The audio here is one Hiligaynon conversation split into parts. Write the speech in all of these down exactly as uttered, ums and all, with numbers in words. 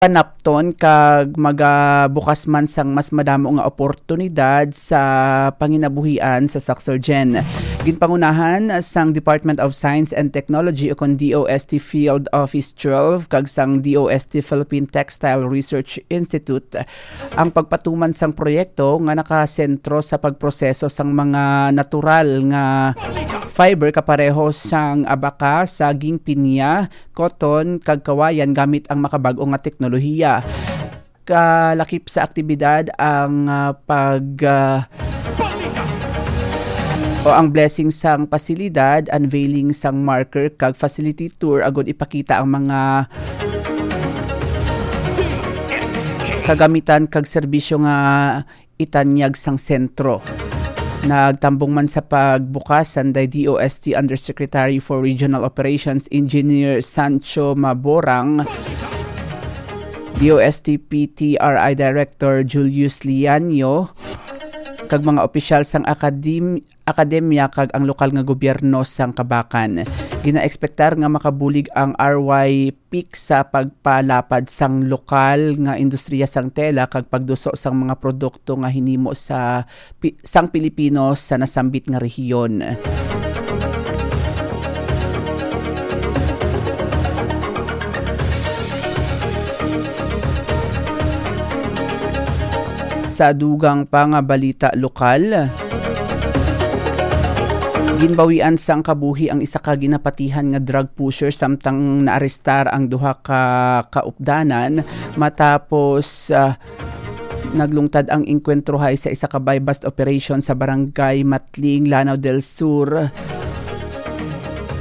panapton kag magabukas man sang mas madamo nga oportunidad sa panginabuhian sa Succergen. Ginpangunahan sang Department of Science and Technology, o kon D O S T Field Office twelve, kag sang D O S T Philippine Textile Research Institute ang pagpatuman sang proyekto nga nakasentro sa pagproseso sang mga natural nga fiber kapareho sang abaka, saging, pinya, cotton, kag kawayan gamit ang makabag-o nga teknolohiya. Kalakip sa aktibidad ang, ah, pag, ah, o ang blessing sang pasilidad, unveiling sang marker, kag facility tour agud ipakita ang mga kagamitan kag serbisyo nga itanyag sang sentro. Nagtambong man sa pagbukas sanday D O S T Undersecretary for Regional Operations, Engineer Sancho Maborang, D O S T P T R I Director Julius Lianyo, kag mga opisyal sang akadim-, akademya kag ang lokal nga gobyerno sang Kabakan. Ginaekspektar nga makabulig ang R Y Peak sa pagpalapad sang lokal nga industriya sang tela kag pagduso sang mga produkto nga hinimo sa pi-, sang Pilipino sa nasambit nga rehiyon. Sa dugang pa nga balita lokal, ginbawian sang kabuhi ang isa ka ginapatihan nga drug pusher samtang naarestar ang duha ka kaupdanan matapos, ah, naglungtad ang engkwentrohay sa isa ka buy-bust operation sa Barangay Matling, Lanao del Sur,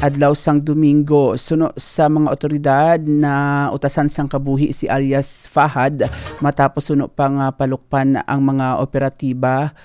adlaw sang Domingo. Suno sa mga otoridad, nautasan sang kabuhi si alias Fahad matapos suno pa nga palukpan ang mga operatiba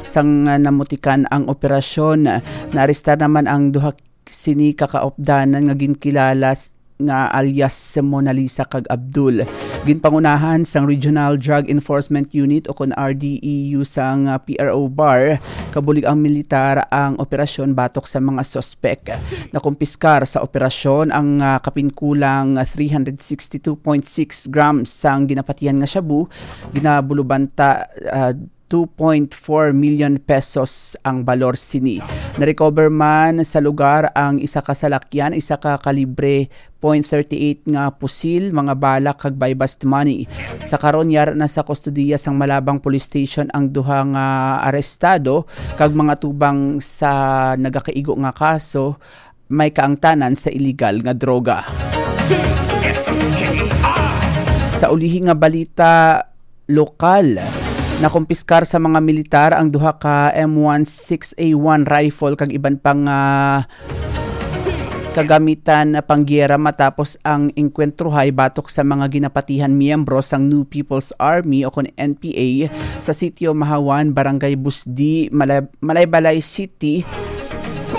sang namutikan ang operasyon. Naarestar naman ang duha sini ka kaupdanan nga ginkilala s-, nga alias Mona Lisa kag Abdul. Ginpangunahan sang Regional Drug Enforcement Unit, o kon R D E U, sang, ah, P R O BAR, kabulig ang militar ang operasyon batok sa mga suspek. Nakumpiskar sa operasyon ang, ah, kapinkulang three hundred sixty-two point six grams sang ginapatihan nga shabu, ginabulubanta, ah, two point four million pesos ang balor sini. Narecover man sa lugar ang isa ka salakyan, isa ka kalibre point thirty-eight nga pusil, mga bala kag buy-bust money. Sa karon, yara na sa kustodiya sang Malabang Police Station ang duha nga arestado kag mga tubang sa nagakaigo nga kaso may kaangtanan sa iligal nga droga. Sa ulihi nga balita lokal, nakumpiskar sa mga militar ang duha ka M one six A one rifle kag iban pang, ah, kagamitan panggiyera matapos ang engkwentrohay batok sa mga ginapatihan miyembro sang New People's Army, o kon N P A, sa sitio Mahawan, Barangay Busdi, Malay-, Malaybalay City,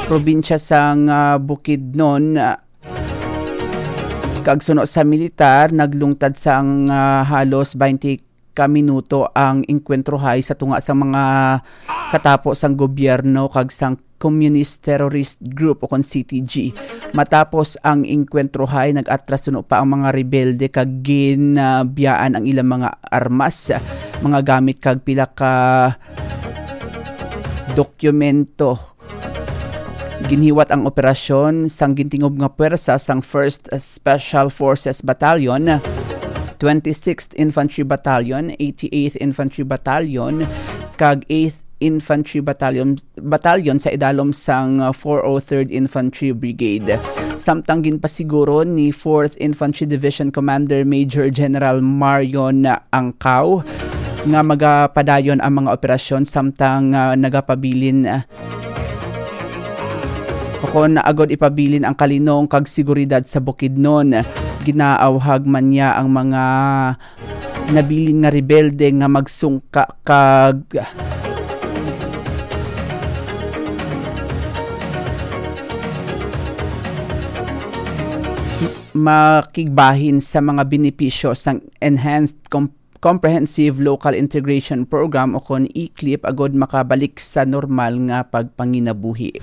probinsya sang, ah, Bukidnon, ah, kag suno sa militar, naglungtad sang, ah, halos twenty ka minuto ang engkwentrohay sa tunga sang mga katapo sang gobyerno kag sang communist terrorist group, o kon C T G. Matapos ang engkwentrohay, nag-atras suno pa ang mga rebelde kag ginabiyaan ang ilang mga armas, mga gamit kag pila ka dokumento. Ginhiwat ang operasyon sang gintingob nga puwersa sang First Special Forces Battalion, twenty-sixth Infantry Battalion, eighty-eighth Infantry Battalion, kag eighth Infantry Battalion, Battalion sa idalom sang four oh third Infantry Brigade. Samtang ginpasiguro ni fourth Infantry Division Commander Major General Marion Angkaw nga magapadayon ang mga operasyon samtang, ah, nagapabilin, ah, o kon agod ipabilin ang kalinong kag seguridad sa Bukidnon. Ginaawhag man niya ang mga nabilin nga rebelde nga magsungka kag makigbahin sa mga benepisyo sang Enhanced Com-, Comprehensive Local Integration Program, o kon E-CLIP, agod makabalik sa normal nga pagpanginabuhi.